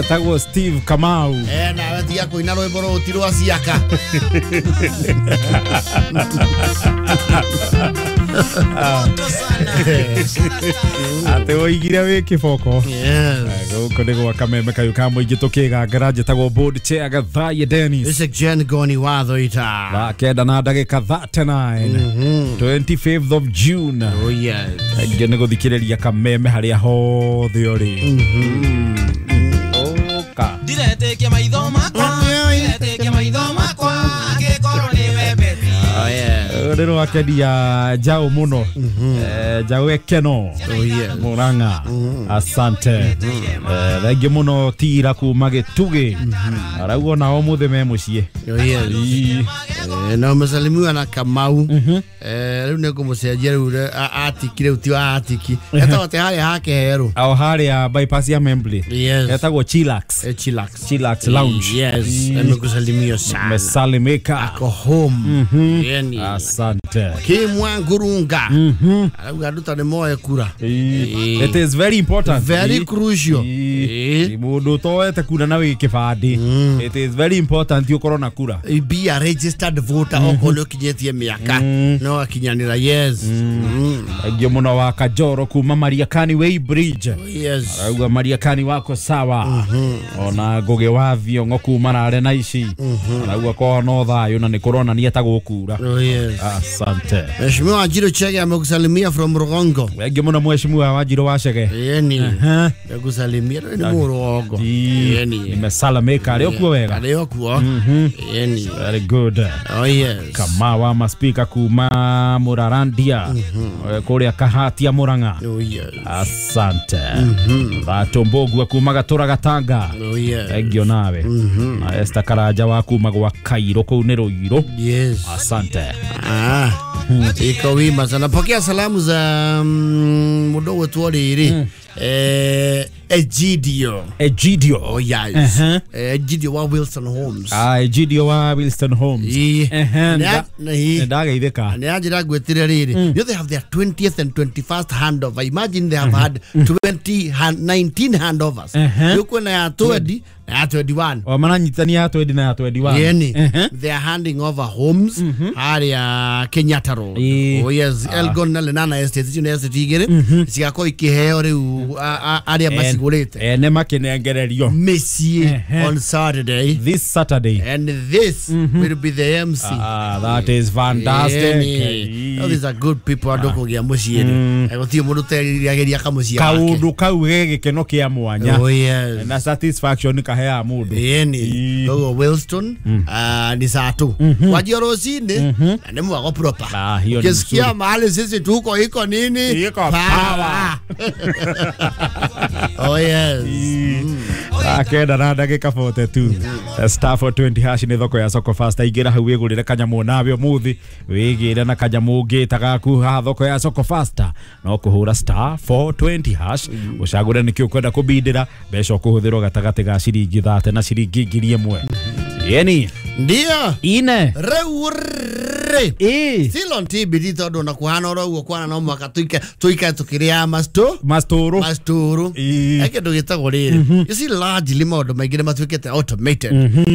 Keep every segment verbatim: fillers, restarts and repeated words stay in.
Etagwo Steve Kamau. Eh nawe tiga kuina rwimbo rũu rwa ciaka. Ate oigire wĩ kĩboko. Gũkũ nĩ gwa kameme kayũ ka mũingĩ tũkĩgangara njĩtagwo board chair Gathaye Dennis. This is Jen Goni watho ita. Thaa kenda na ndagĩka thirty-nine twenty-fifth of June. Oh yes. Aingĩ nĩ gũthikĩrĩria kameme harĩa hothe ũrĩ. Ũka. Ndiretĩkia maitho makwa, ndiretĩkia maitho makwa, angĩkorwo nĩwe Betty. Oh yeah. Rĩrĩ wakendia njaũ mũno. Eh, njaũ ekeno. Oh yeah. Murang'a. Asante. Eh, thengiũ mũno tira kuma Gĩtugĩ. Arauga ona ũmũthĩ me mũciĩ. Oh yes. Eh, na umesalimiwa na Kamau. Eh, rĩu nĩ ngũmũcenjia rĩu atiki rĩu ti wa atiki. Etagwo atĩ harĩa hake herũ. O harĩa bypass ya Membley. Yes. Etagwo Chillax. Eh, Chillax. Chillax Lounge. Yes. Amekusalimia sana. Mesalimika. Ako home. Yani. Asante. Kimwangurunga. Arauga andũ ta nĩ moe kura. It is very important. Very crucial. Mũndũ ũtoete kura na wĩ kĩbandĩ. It is very important ũkorwo na kura. Be a registered voter okorwo nĩ ũkinyĩtie mĩaka no akinyanĩra. Yes. Thengiũ mũno wa Kajoro kuma Mariakani Way Bridge. Yes. Arauga Mariakani wako sawa. Ona Ngũgĩ wa Thiong'o kuma Rare na ici. Arauga kwao no thayũ na nĩ kũronania ta gũkura. Oh yes. Asante. Mheshimiwa Wanjiru Chege amekusalimia from Rugongo. Thengiũ mũno mheshimiwa Wanjiru wa Chege. Yeni. Amekusalimia ni Murugongo. Yeni. Nimesalamika arĩ okuo wega. Arĩ okuo. Yeni. Very good. Oh yes. Kamawa maspika kuma Murarandia. Kũrĩa Kahatia Murang'a. Oh yes. Asante. Batombogwa kuma Gatura Gatanga. Oh yes. Thengiũ nawe. Na Esther Karanja wa kuma gwa Kairo kũu nĩ Rũirũ. Yes. Asante. Ah. Iko wima sana. Pokea salamu za mm, mdogo wetu rĩrĩ. Eh, Egidio. Egidio. Oh yes. Uh-huh. Egidio wa Wilson Homes. Ah, Egidio wa Wilson Homes. Ĩĩ. Ehe. Nĩ nĩ Ndageithĩka. nĩ anjĩra ngwĩtĩre rĩrĩ. You know they have their twentieth and twenty-first handover. Imagine they have had twenty hand, nineteen handovers. Uh-huh. Rĩu kwĩna ya twenty na ya twenty-one. O maranyitania ya twenty na ya twenty-one. Yeni. Ehe. They are handing over homes harĩa Kenyatta Road. Ĩĩ. Oh yes, Elgon na Lenana Estate icio nĩ estate igĩrĩ cigakorwo ikĩheo rĩu a- a- arĩa macigũrĩte Ene makĩnengererio. mĩciĩ Ehe. on Saturday. This Saturday. And this will be the M C. Ah, that is fantastic. Yeni. Oh, these are good people andũ kũgĩa mũciĩ rĩ. Gũtirĩ mũndũ ũteriragĩria kamũciĩ gake. Kaũndũ kau ge gĩkeno kĩa mwanya. Oh yes. Na satisfaction kaheaga mũndũ. Yeni. Ĩĩ. Koguo Wilston ah, ni saa tu kwanjia rũcinĩ na nĩ mwago proper. Ah, hiyo ni Ukisikia mzuri. mahali sisi tuko iko nini? Iko power. Oh yes. Thaa kenda na ndagĩka forty-two. Star four twenty hash nĩ thoko ya Soko Fasta. Ingĩra hau wĩgũrĩre kanyamũ nawe ũmũthĩ wĩgĩre na kanyamũ ũngĩta gaku haha thoko ya Soko Fasta. No kũhũra star four twenty hash ũcagũre nĩkĩ ũkwenda kũbindĩra mbeca ũkũhũthĩrwo gatagatĩ ga ciringi thate na ciringi ngiri ĩmwe. Yeni. Ndio. Ine. Rĩu rĩ. Ĩ. Still on T B T tondũ na kuhana oro ũguo kwana no mwaka tuike tuikae tukĩrĩaga masto Mastũrũ. mastũrũ. Ĩ. He kĩndũ gĩtagwo rĩrĩ, you see, largely maũndũ maingĩ nĩ matuĩkĩte automated.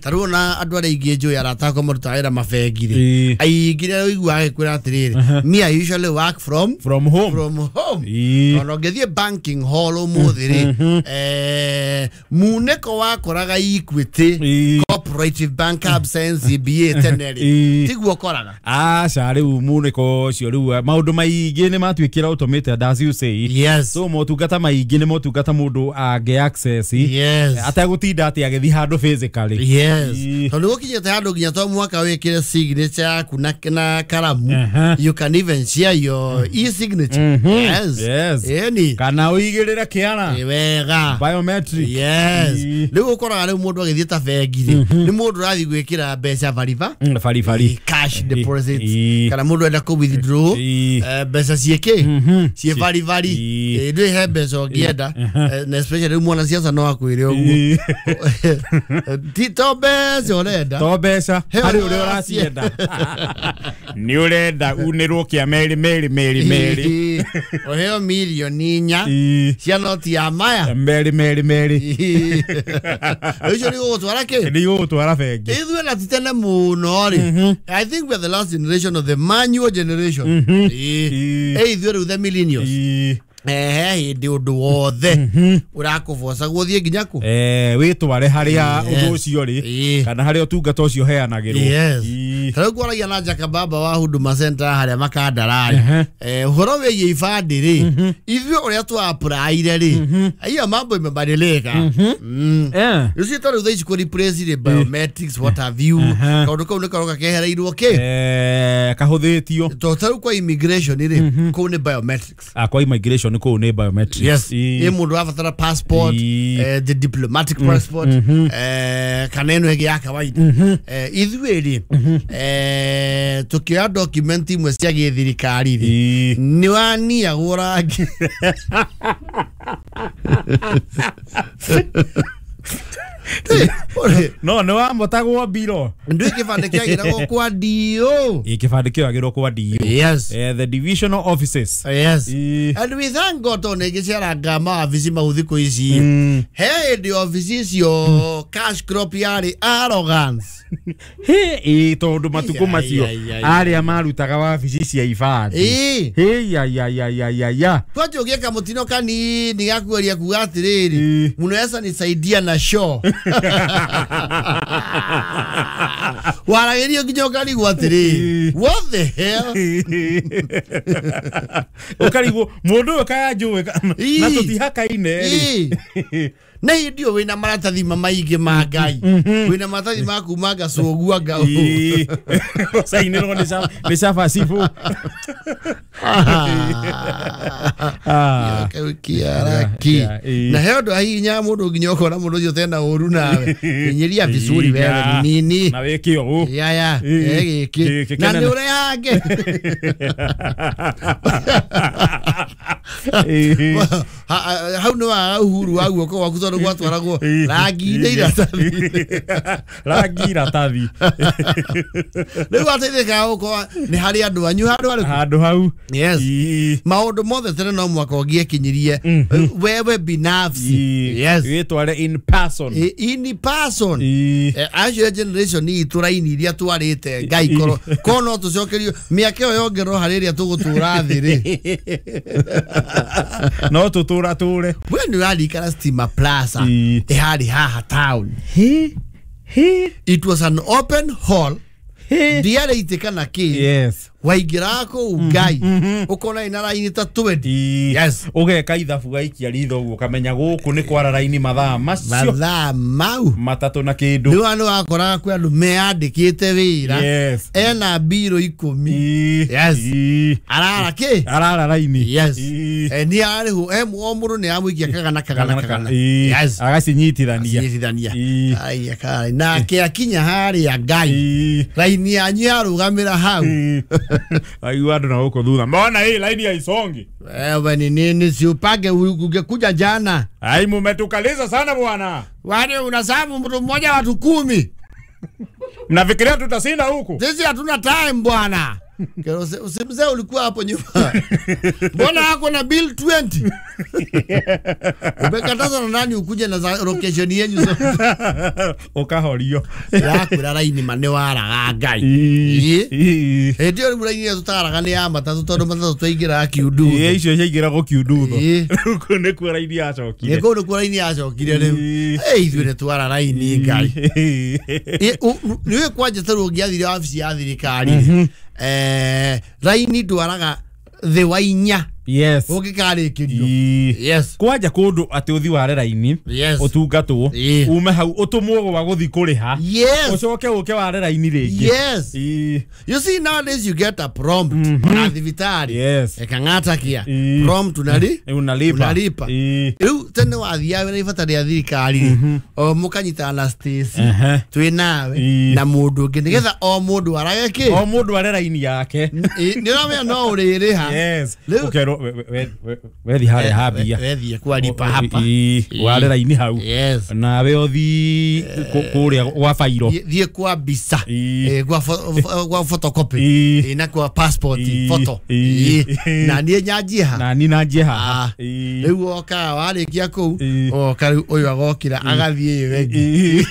Ta rĩu ona andũ arĩa aingĩ njũĩ arata akwa marutaga wĩra mabengi rĩ, Ĩ. aingĩ nĩ ũiguaga agĩkwĩra atĩrĩrĩ, "Me, I usually work from From home. from home." Ĩ. Ona ũngĩthiĩ banking hall ũmũthĩ rĩ, eh, munĩko wakoraga Equity, Ĩ. Cooperative Bank, Absa, N C B A tene rĩ, Ĩ. tiguo ũkoraga. Aca rĩu munĩko ũcio rĩu maũndũ maingĩ nĩ matuĩkire automated, as you say. Yes. So motungata maingĩ nĩ motungata mũndũ angĩ access Yes. ategũtinda atĩ agĩthiĩ handũ physically. Yes. Ĩ. Tondũ gũkinyĩte handũ nginya to mwaka wĩkĩre signature yaku na, na karamu. Aha. You can even share your e-signature. Yes. Yes. Ĩni. Kana ũigĩrĩre kĩara. Ĩ wega. Biometric. Yes. Ĩ. Rĩu ũkoraga rĩu mũndũ agĩthiĩ ta bengi rĩ, nĩ mũndũ ũrathiĩ gwĩkĩra mbeca bariba Mm, baribari. Cash deposits, Ĩ. kana mũndũ enda kũ withdraw Ĩ. eh, mbeca ciĩkĩ ciĩ baribari. Ĩ. Ĩ, ndwĩ he mbeca ũngĩenda. Eh, na especially rĩu mwanasiasa no akwĩre ũguo. Ĩ. Ti to mbeca ũrenda. To mbeca He harĩ ũrĩa ũrĩa ũracienda nĩ ũrenda unĩrwo kĩa merĩ merĩ merĩ merĩ. rĩ ũheo mirioni inya cia noti ya maya meri meri meri ũcio nĩ gũgũtwara kĩ nĩ gũgũtwara bengi ithuĩ na ti tene mũno rĩ I think we are the last generation of the manual generation ĩ ithuĩ rĩu the millennials ehe hĩndĩ ũndũ wothe ũrakũboca gũthiĩ nginya kũ eh wĩtware harĩa ũndũ ũcio rĩ kana harĩa ũtungata ũcio ũheanagĩrwo yes ta rĩu kwaragia na Jaka Baba wa Huduma Center harĩa Makandarari eh ũhoro wĩgiĩ ibandĩ rĩ ithuĩ ũrĩa twa applyire rĩ hiyo mambo imebadilika rĩu ci tondũ thaa ici kũ replace rĩ biometrics what have you kaũndũ kau nĩ karoka kehereirwo kĩ eh kahũthĩtio to ta rĩu kwa immigration rĩ kũu nĩ biometrics ah kwa immigration kũu nĩ biometrics yes ĩ mũndũ abatara passport eh, the diplomatic passport eh, kana ĩno ĩngĩ ya kawaida eh, ithuĩ rĩ eh, tũkĩoya document imwe cia gĩthirikari rĩ nĩ waniagwo rangi no nĩ wamotagwo mbiro ndũĩ kĩbandĩ kĩagĩragwo kwa D O ĩ kĩbandĩ kĩoyagĩrwo kwa D O yes eh, the divisional offices yes Ĩ. and we thank God tondũ nĩ ngĩceranga mawabici mau thikũ ici he hĩndĩ obici icio cash crop yarĩ arrogance Hĩ, ĩ tondũ matukũ Ai, macio ai, ai, arĩa marutaga wabici cia ibandĩ ĩ hĩ ya ya ya ya ya ya kwanja ũgĩka mũtino kanini gakugeria kuga atĩrĩrĩ Ĩ. mnaweza nisaidia na show waragĩrio nginya ũkarigwo atĩrĩrĩ what the hell ũkarigwo mũndũ ũyũ kaya njũĩ ka- Ĩ. na tũtihakaine rĩ Ĩ. na hĩndĩ ĩyo wĩna maratathi ma maingĩ ma Ngai wĩna maratathi ma kuma ngacũgua nga Ĩ. Ũcainĩrwo nĩ ca- nĩ cabacibu Ah. Kau kĩaraki Yeah, yeah, na he ũndũ ahihinyaga mũndũ nginya ũkona mũndũ ũcio ũtena ũru nawe kinyĩria vizuri wewe ni nini na wĩke ũũ yaya Ĩ. gĩkĩ Gĩkĩ na kĩnene. nĩ ũrehange Ĩ. Ha- ha- hau nĩ waga uhuru wa guoko gwaku tondũ gwatwaragwo rangi-inĩ iratathi rangi iratathi rĩu wateithĩkaga gũkorwo nĩ harĩ andũ anyu handũ harĩkũ handũ hau yes Ĩ. maũndũ mothe tene no mwaka ũngĩekinyirie wewe binafsi Ĩ. yes wĩtware in person I- in person Ĩ. Eh, acio generation itũ raini iria twarĩte Ngai korwo korwo no tũcokerio mĩaka ĩyo yongererwo harĩ ĩrĩa tũgũtũra thĩ rĩ no tũtũra tũre we nĩ ũraririkana Stima Plaza Ĩ. ĩharĩ haha town Hĩ. Hĩ. it was an open hall Hĩ. ndiarĩ itĩ kana kĩ yes waingĩraga kũu Ngai ũkona ina raini ta twenty Ĩ. Yes. ũgeka ithabu gaikia ritho ũguo ũkamenya gũkũ nĩ kwara raini mathaa macio mathaa mau matatũ na kĩndũ rĩu nĩ wakoraga kwĩ andũ meyandĩkĩte wĩra yes ena mbirũ ikũmi Ĩ. Yes. Ĩ. arara kĩ arara raini yes Ĩ. Eh, nĩ arĩhwo eh, o mũndũ nĩ amũikia kagana kagana kagana Ĩ. yes agacinyitithania cinyitithania Ĩ. Ai, akara nake akinya harĩa Ngai Ĩ. raini yanyu yarũgamĩra hau Ĩ. Aigua andũ na gũkũ thutha mona hii laini haisongi wewe ni nini si upange ungekuja jana ai mumetukaliza sana bwana wale unasabu mtu mmoja watu kumi mnafikiria tutashinda huku sisi hatuna time bwana Kero, usi- usimzee ulikuwa hapo nyuma mbona hako na bill twenty umekatazwa na nani ukuje na za location yenyu zote ũkahorio yakwĩra raini ma nĩ waraga Ngai Ĩ. Ĩ. hĩndĩ ĩyo rĩu raini ĩrĩa tũtaraga nĩ ya matatũ tondũ matatũ twaingĩraga kiundutho Ĩ, icio ciaingĩragwo kiundutho Ĩ. rĩu kũu nĩkuo raini yacokire nĩ kũu nĩkuo raini yacokire rĩu Ĩ. Ĩ, ithuĩ nĩ twara raini Ngai Ĩ, ũ- nĩũĩ kwanja ta rĩu ũngĩathire wabici ya thirikari rĩ, eh, raini ndwaraga thĩ wa inya yes ũngĩkarĩkĩrio Ĩ. yes kwanja kũndũ atĩ ũthi ware raini Yes. ũtungatwo Ĩ. ume hau ũtũmwo gwa gũthi kũrĩha yes ũcoke ũke ware raini rĩngĩ yes Ĩ. you see nowadays you get a prompt na thibitarĩ yes ekang'ata kia Ĩ. prompt unali unalipa unalipa Ĩ. rĩu tene wathiaga wĩna ibata rĩa thirikari rĩ o mũkanyitana na Stacy Ehe. twĩ nawe Ĩ. na mũndũ ũngĩ nĩgetha o mũndũ arage kĩ o mũndũ are raini yake Ĩ, nĩ ũramenya no ũrĩrĩha yes Rĩu- ũkerwo wethi harĩa hambia wethi kwa lipa hapa ware raini hau yes nawe uthi kuria gwa fairo thie kwa bisa kwa kwa photocopy na kwa passport photo na nie nyanjie ha na ni nanjie ha riu oka warikia kuu oka riu uyu agokira agathie wengi.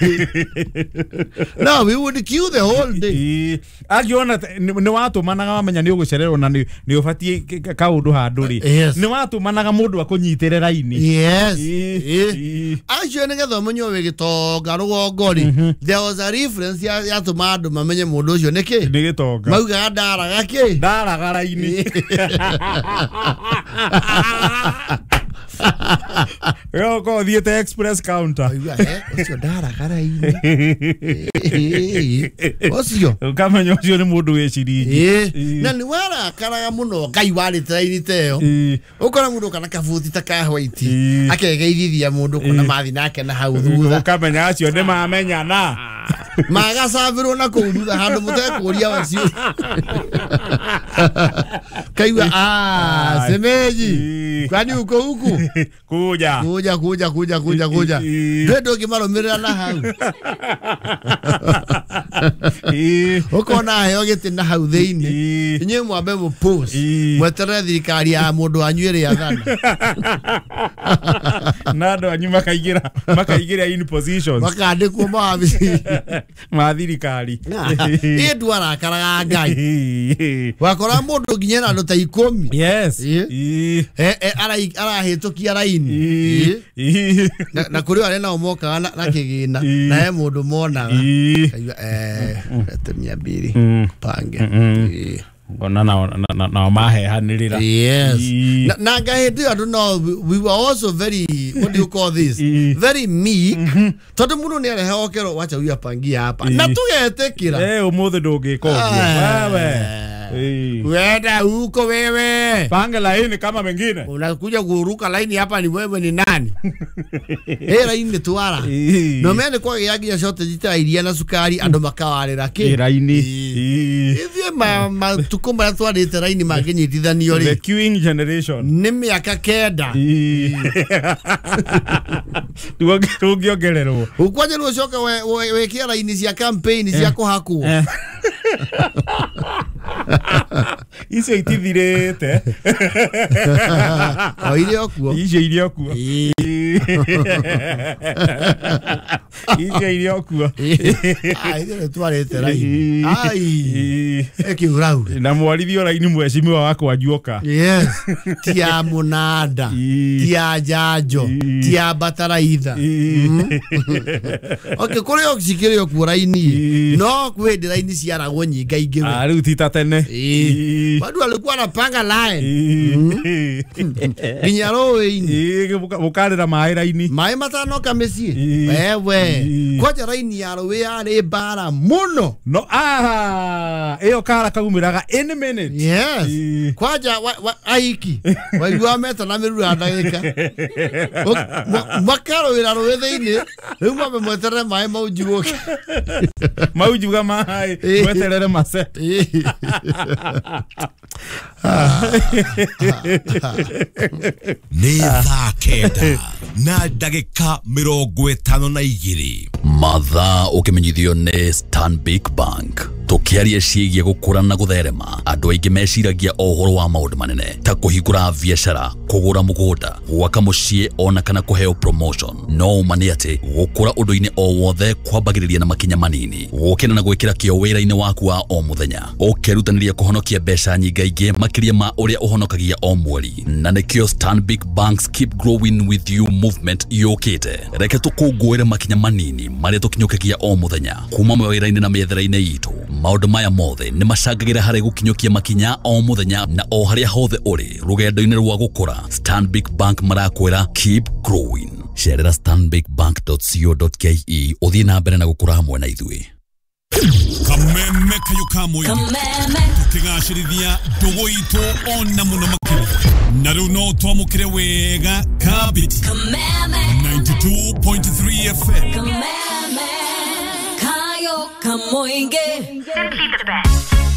No, we would queue the whole day. Akiona ni watumanaga wamenya ni ugucererwo na ni ubatie kaundu handu ri ni watumanaga mundu akunyitire raini. Yes. Acio ni getha umenye wi gitonga rugongo ri there was a reference ya tuma andu mamenye mundu ucio niki ni gitonga maugaga ndaraga ki ndaraga raini. Yo ko thiete express counter. Eh, ucio ndaraga raini. Ucio ukamenya ucio ni mundu wi ciringi. Eh, na ni warakaraga muno Ngai warite raini teyo. Ukora mundu kana kabuti ta ka white akegeithithia mundu kuna mathi nake na hau thutha. Ukamenya acio ni mamenyana. Magacabirwo na kuu thutha handu mutekuria wacio. Kaigua ah semeji kwani uko huku kuja kuja kuja kuja kuja kuja ndio ngimarumirira na hau ukona heo giti na hau thiini inyuĩ mwambe mu post mweterere thirikari ya mundu wanyu ĩrĩa athana na andu anyu makaigĩra makaigĩra in positions makandĩkwo mawabici ma thirikari ĩ ndwarakaraga Ngai wakora mundu nginya na andu ta ikumi. Yes. Arahĩtũkia raini na kũrĩ arĩa nao mokaga na kĩgĩna na he mũndũ monaga eh lete mia mbili pange ngona nao nao mahehanĩrĩra. Yes. Na Ngai hĩndĩ ĩyo andũ no we were also very what do you call this very meek tondu mũndũ nĩ arehe okero wacha huyu apangia hapa na tugetĩkĩra eh ũmũthĩ ndũngĩka ũguo wewe. Wenda huko wewe. Panga laini kama mengine. Unakuja kuruka laini hapa ni wewe ni nani? Eh laini tuara. No mene kwa yagia shortage ta iria na sukari andu makawarira ki. Laini. Ithie ma matuko maria twarite laini manginyitithanio ri. The queuing generation. Ni miaka kenda. Tungiongererwo. Ukwanje rucoka wekia laini cia campaign cia kuhakwo. Icio itithirite o irio kuo icio irio kuo icio irio kuo ai ithuĩ twarĩte raini ai ĩkĩuraure na mwarithio raini mheshimiwa wakwa Njuoka. Yes. Ti ya mũnanda ti ya njanjo ti ya bataraitha. Okay, kũrĩ o cikĩrĩ o kuo raini no kwĩ hĩndĩ raini ciaragwo nyingaingĩ. Ah rĩu ti ta tene watu walikuwa wanapanga line nginya rũĩ-inĩ mũkarĩra maĩ raini maĩ matanoka mĩciĩ wewe kwanja raini ya rũĩ yarĩ mbara mũno no ah ĩyo kara kaumĩraga any minute. Yes. Kwanja aiki waigua meta na mĩrura ndagĩka makarũĩra rũĩ thĩinĩ rĩu mwambe mweterere maĩ maunjugũke maunjuga maĩ mweterere mace. Nĩ thaa kenda na ndagĩka mĩrongo ĩtano na igĩrĩ mathaa ũkĩmenyithio nĩ Stanbic Bank. Tũkĩaria ciĩgiĩ gũkũra na gũtherema andũ aingĩ meciragia o ũhoro wa maũndũ manene ta kũhingũra biacara kũgũra mũgũnda gwaka mũciĩ ona kana kũheo promotion. No ũma nĩ atĩ gũkũra ũndũ-inĩ o wothe kwambagĩrĩria na makinya manini gũkĩra na gwĩkĩra kĩo wĩra-inĩ waku wa o mũthenya ũkerutanĩria kũhonokia mbeca nyingaingĩ makĩria ma ũrĩa ũhonokagia o mweri. Na nĩkĩo Stanbic Bank's Keep Growing With You movement yũkĩte. Reke tũkũngũĩre makinya manini marĩa tũkinyũkagia o mũthenya kuma mawĩra-inĩ na mĩethere-inĩ itũ. Maũndũ maya mothe nĩ macangagĩra harĩ gũkinyũkia makinya o mũthenya na o harĩa hothe ũrĩ rũgendo-inĩ rwa gũkũra. Stanbic Bank marakwĩra keep growing. Cerera stanbic bank dot co dot ke ũthiĩ na mbere na gũkũra hamwe na ithuĩ. Kameme kayo kamwe tukigacĩrithia ndũgũ itũ ona mũno makĩria na rĩu no twamũkĩre wega kabiti ninety-two point three F M. Kameme kayo kamoinge. Simply the best.